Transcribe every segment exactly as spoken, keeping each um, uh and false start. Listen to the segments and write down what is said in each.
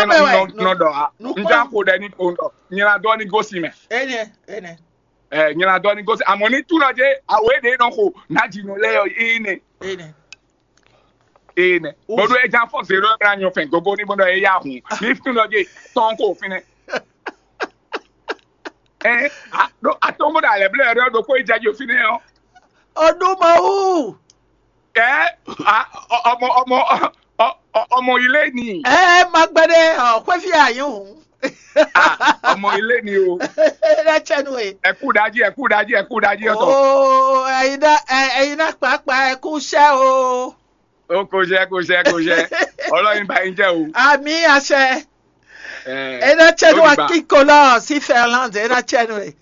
nɔ nɔ ɖɔ a, n já xo ɖɛ ní ko ɖɔ nyina dɔ ní gosín mɛ. Ene ene. Ɛ nyina dɔ ní gosín, àmọ́ ní túnɔ jẹ́ àwọ̀ èdè nɔ xo nájínú lɛ yɔ yìí ni. Ene. Ene. Bɔdɔ ɛ já fɔ zero ɛ bla nyɔ fɛn gogo ní bɔdɔ ɛ yá hun ní túnɔ jẹ́ tɔn kó fínɛ. Ɛ a ɖo atɔn bɔdɔ alɛ blɛ yɔ ɖo kó ìjà jò fínɛ ɔ. Ọdún Mawu. Ɛ a ọmọ ọmọ ọmọ ilé ni. Ɛ má gbɛdɛ ọ xwéfí ayé hùn. Ah, ọmọ ilé ni o. Ẹ dá tsẹnu e. Ẹ kú dájí, ẹ kú dájí, ẹ kú dájí ọ̀tọ̀. Oo, ẹ̀yin náà ẹ- ẹ̀yin náà pàápàá ẹ kú iṣẹ́ o. Ó kò ṣe, kò ṣe, kò ṣe. Ọlọ́run bá yín jẹ́ o. Àmì àṣẹ. Ẹ Ẹ dá tsẹnu ó ti gbà. Akíkolọ́ sí Fẹ́ránde, ẹ dá tsẹnu e.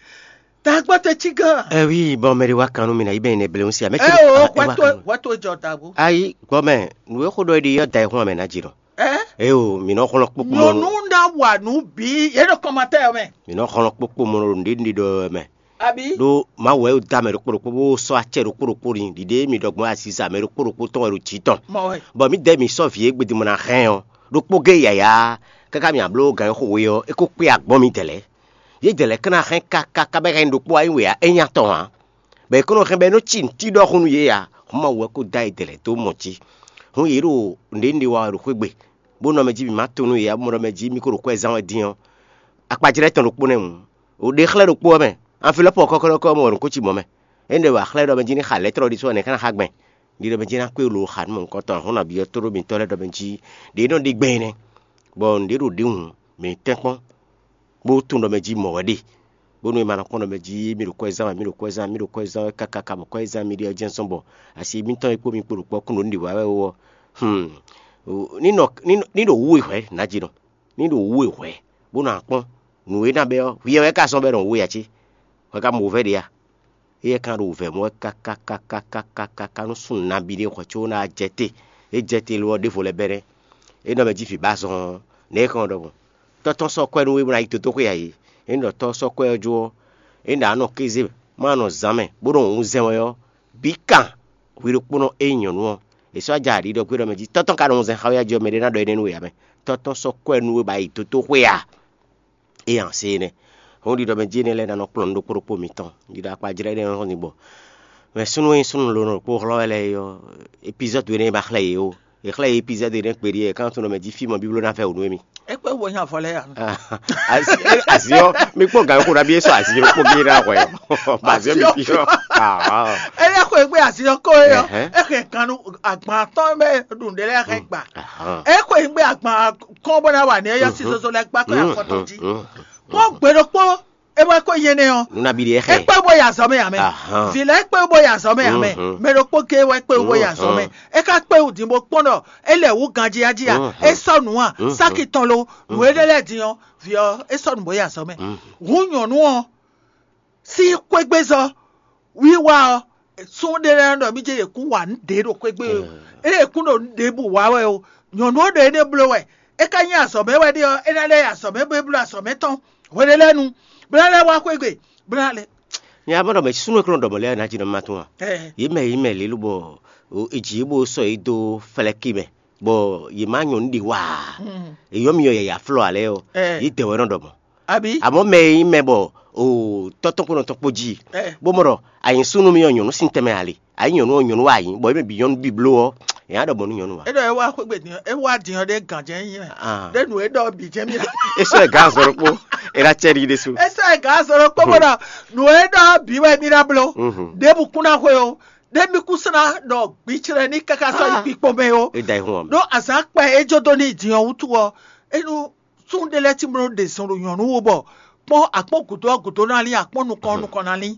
Tàgbọ́ tẹ tí gan. Ɛ wi bɔn mɛ ɖe wá kan nú mi ná yi bɛ ne blewun si amɛ Ẹ o, wá tó wá tó jọ dàgbò. Ayi gbɔmɛ nù e xó ɖɔ ɖi yɔ da ìhun amɛ ná jì nɔ. Ẹ eye o mi nɔ xɔlɔ kpokpo mɔ Nyɔnu ná wà nú bí yé ɖo kɔmatɛ mɛ. Mi nɔ xɔlɔ kpokpo mɔ ɖo nɖe nɖe ɖɔ mɛ. Àbí? Ɖó mawu wɛ da mɛ ɖokpó ɖokpó bó sɔ acɛ ɖokpó ɖokpó ni ɖiɖe mi ɖɔ gbɔn aziza mɛ ɖokpó ɖokpó tɔn wɛ ɖo jǐ tɔn. Mɔ wɛ. Bɔ mi dɛ mi sɔ vǐ e gbedimɔ ná hɛn ɔ ɖokpó gé yaya káká mi abló gan e xo we ɔ é kó kpé agbɔn mi dɛlɛ. Yé dɛlɛ káná hɛn káká bɛ hɛn ɖokpó ayi wɛ é nya tɔn ǎ. Bɔ è kɔn nɔ hɛn bɔ é nɔ ci nǔtí ɖɔhun nú yě ǎ. Hɔn Mawu wɛ kó dó ayi dɛlɛ dó mɔ jí. Hɔn yě ɖo nǔɖé nú ɖe wa wɛ ɖo xwé gbe, bó nɔ mɛ jí mǐ má to nú yě ǎ, bó mɔ ɖɔ mɛ jí mì ko ɖo kwɛzán wɛ dín ɔ́, akpajlɛ́ tɔn ɖokpó nɛ́ hǔn. O ɖe xlɛ́ ɖokpó ɔ́ mɛ, an fi lɔ́pɔ kɔ́kɔ́ mɛ wɛ ɖo nǔ ko ci mɔ̌ mɛ. Énɛ́ ɖɔ wǎ xlɛ́ ɖɔ mɛ jí ní xa lɛ̌trɔ ɖisú ɔ́ nɛ̌ ká ná xá gbɛn? Ɖi ɖɔ mɛ jí ná kpé lo xa nú mɔ̌hunkɔtɔn hɔn nabí ɔ́ tóɖó mitɔ́ lɛ́ɛ ɖɔ mɛ jí ɖě nɔ ɖi gbɛn nɛ́, bɔ nǔɖé ɖo ɖě hǔn, mǐ tɛ́nkpɔ́n, bó tunwun ɖɔ mɛ jí mɔ̌ wɛ ɖe. Bónú è ma nɔ kpɔ́n ɖɔ mɛ jí mì ɖo kwɛzán wɛ, mì ɖo kwɛzán, mì ɖo kwɛzán wɛ káká káká bɔ kwɛzán mì ɖe ɔ́ jɛ́n zɔ́n bɔ asi mǐtɔn e kpó mi kpo ɖo kpɔ́ kún ɖo nǔ ɖi wǎ wɛ ó ɔ́, hmm, ní nɔ ní nɔ- ní ɖo wú we hwɛ̌ nǎjínɔ, ní ɖo wú we hwɛ̌, bó nɔ akpɔ́n nǔ e ná bɛ́ ɔ́, hwi ɔ́ wɛ ka zɔ́n bɔ é nɔ wú we ǎ cé? Hwɛ ka mɔ wǔvɛ́ ɖě a? Éyɛ́ ka ɖo wǔvɛ́ mɔ wɛ kákákákákáká nú súnnu nabí ɖé hwɛ̌ có ná jɛ te. É jɛ te lo ɔ́, ɖěvo lɛ́ bɛ́ nɛ́. É nɔ mɛ jí vǐ ba zɔn ɔ́, nɛ̌ é hɛn ɔ́ ɖɔhun? Tɔ́ tɔn sɔ́ kwɛ́ nú we bó ná yi dǒdóxwé ǎ é. É nɔ tɔ́ sɔ́ kwɛ́ ɔ́ jó ɔ́, é ɖǎ nɔ kéze má nɔ zǎn mɛ, bó nɔ wǔnzɛn wɛ ɔ́, bǐ kan hwi ɖokpónɔ e nyí nyɔ̌nu ɔ́, è sɔ́ ja ɖiɖɔ gbé ɖɔ mɛ jí tɔ́ tɔn ka nɔ wunzɛn xá wɛ jí ɔ́, mɛɖé ná ɖɔ énɛ́ nú we ǎ mɛ. Tɔ́ tɔn sɔ́ kwɛ́ nú we bá yi dǒdóxwé a? É ǎ se énɛ́. Hɔn ɖiɖɔ mɛ jí énɛ́ lɛ́ɛ ná nɔ kplɔ́n nǔ ɖokpó ɖokpó mitɔn. Ɖiɖɔ akpajlɛ́ énɛ́ nɔ hɔn din bɔ mɛ súnnu e súnnu lǒ nɔ ɖokpó hlɔ́ wɛ lɛ́ɛ é ɔ́, epizɔ́du énɛ́ ma xlɛ́ yě ó. È xlɛ́ yě epizɔ́du énɛ́ kpeɖí é, kántɔn mɛ jí fí mɔ bíbló ná fɛ wǔ nú émí. É kpé wo nya vɔ lɛ́ɛ ya. Asi asi ɔ́, mi kpɔ́n gǎn xo ná bí é sɔ asi ɖokpó gé ná hwɛ ɔ́. Bɔ asi ɔ́ mi fi ɔ́. Ah, É lɛ́ xwe gbé asi ɔ́ kó é ɔ́, Ɛhɛn. É xɛ kan nú agban tɔn bɛ ɖu nɖé lɛ́ɛ xɛ gbà. Ahán. É xwe gbé agban kɔn bɔ ná wà ní é yɔ sí zozo lɛ gbá kó yà fɔtɔn jí. Kpɔ́n gbe ɖokpó é wɛ kó yé nɛ ɔ́. Nuna bi ɖe É xɛ. Kpé bó yà zɔ mɛ yà mɛ. Ahán. Vǐ lɛ kpé bó yà zɔ mɛ yà mɛ. Mhm. Mɛ ɖokpó gé wɛ kpé bó yà zɔ mɛ. Mhm. É ká kpé wù dín bó kpɔ́n ɖɔ é lɛ wǔ ganjí ají a. Mhm. É sɔ́ nǔ a. Mhm. Sáki tɔn lo. Nǔ énɛ́ lɛ́ɛ din ɔ́, vǐ ɔ́, é sɔ́ nǔ bó yà zɔ mɛ. Mhm. Hǔn nyɔ̌nu ɔ́, sín xwégbézɔ́ wiwa ɔ́, sún ɖé lɛ́ɛ ɖɔ mí jɛ yě kún wa nǔ ɖě ɖo xwégbé o. Mm. É yě kún ɖo nǔ ɖěbǔ wa wɛ o. Nyɔ̌nu ɔ́ ɖo énɛ́ bló wɛ. É ka nyí azɔ̌ mɛ wɛ ɖe ɔ́, é ná lɛ́ yi azɔ̌ mɛ bó é bló azɔ̌ mɛ tɔn hweɖé lɛ́ɛ nu, bó ná lɛ́ wá xwé gbe, bó ná lɛ́. Nya bɔ ɖɔ mɛ súnnu e kplɔ́n ɖɔ mɔ̌ lɛ́ɛ ná jí nɔ ma tún a? Ɛ, Yě mɛ yě mɛ lě lobɔ o, è jǐ yě bó sɔ́ yě dó flɛ́kí mɛ, bɔ yě má nyɔ̌nu ɖi wa ǎ. Mm. È yɔ́ mi yɔ yǎyá flɔ́ ǎ lɛ́ɛ ɔ́, Ɛ. Yě dɛ wɛ nɔ ɖɔ mɔ̌. Àbí? Àmọ́ mɛ e nyí mɛ bɔ o tɔ́tɔ́ kpó nɔ tɔn kpó jí, Ɛ. Bó mɔ ɖɔ a nyǐ súnnu mì ɔ́, nyɔ̌nu sín tɛnmɛ a le, a nyǐ nyɔ̌nu ɔ́, nyɔ̌nu wɛ a nyǐ, bɔ é mɛ bǐ nyɔ́nu bíbló ɔ́, è nǎ ɖɔ mɔ̌ nú nyɔ̌nu ǎ. É ɖɔ é wá xwé gbe din ɔ́, é wá din ɔ́ ɖé gǎnjɛ́ nyí mɛ. Ah. Ɖé nǔ e ɖɔ ɔ́ bǐ jɛ́n mì ná. É sɔ́ ɛ gǎn azɔ̌ ɖokpó, é ná cɛ ɖi ɖésú. É sɔ́ ɛ gǎn azɔ̌ ɖokpó bó ɖɔ nǔ e ɖɔ ɔ́ bǐ wɛ mì ná bló. Mhm. Ɖěbǔ kún ná xwe o. Ɖé mì kún sɔ́ ná ɖɔ gbiclɛ ní káká sɔ́ yi Ah. kpikpo mɛ o. É da yi hun ɔ́ mɛ. Ɖó azǎn kpɛ e jó dó n'i din ɔ́ wútu ɔ́, é nú súnnu ɖé lɛ́ɛ cí bó nɔ ɖe zɔn ɖo nyɔ̌nu wú bɔ kpɔ́n akpɔ́n gǔdo ɔ́ gǔdo ná lín akpɔ́n nukɔn ɔ́ nukɔn ná lín.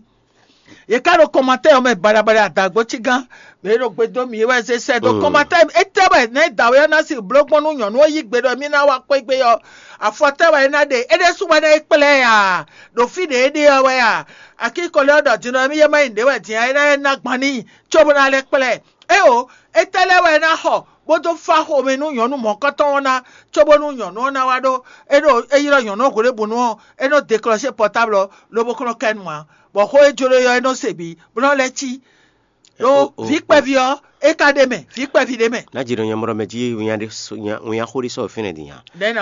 Yě ká ɖo kɔmatɛ́ ɔ́ mɛ baɖabaɖa adǎgbó cí gán, mɛ e ɖo gbe dó mì é wɛ zé sɛ́ dó Mm. kɔmatɛ́ étɛ́ wɛ nɛ̌ dǎwe ɔ́ ná sin bló gbɔn nú nyɔ̌nu ɔ́ yí gbe ɖɔ mì ná wá xwé gbe ɔ́? Afɔtɛ́ wɛ é ná ɖe? É ɖésú wɛ ná é kplá ɛ a? Ɖo fí ɖě é ɖe ɔ́ wɛ a? Akíkɔlé ɔ́ ɖɔ din ɔ́, émí yɛ má nyí nǔɖé wɛ din ɔ́, é ná é ná gban n'i, cóbó ná lɛ́ kplá ɛ. Éeǒ, étɛ́ lɛ́ɛ wɛ é ná xɔ bó dó fá xomɛ nú nyɔ̌nu mɔ̌kɔ́tɔn ɔ́ ná, cóbónú nyɔ̌nu ɔ́ ná wá ɖó é ɖo é ylɔ́ nyɔ̌nu ɔ́ hwelébǔnu ɔ́, é nɔ́ deklɔ́sé pɔtáblu ɔ́, lobo kɔn nɔ kɛ nu ǎ, bɔ xó e jló é ɔ́, é nɔ́ se bǐ, bó nɔ́ lɛ́ cí. Ɖó O, o, vǐ kpɛví ɔ́, é ka ɖ'é mɛ, vǐ kpɛví ɖ'é mɛ. Ná jǐ nɔ nyamɔɖɔ mɛ jí winnyá ɖé sɔ- nya- winnyá xó ɖé sɔ́ fínɛ́ din nya. Ɖɛ̌ ná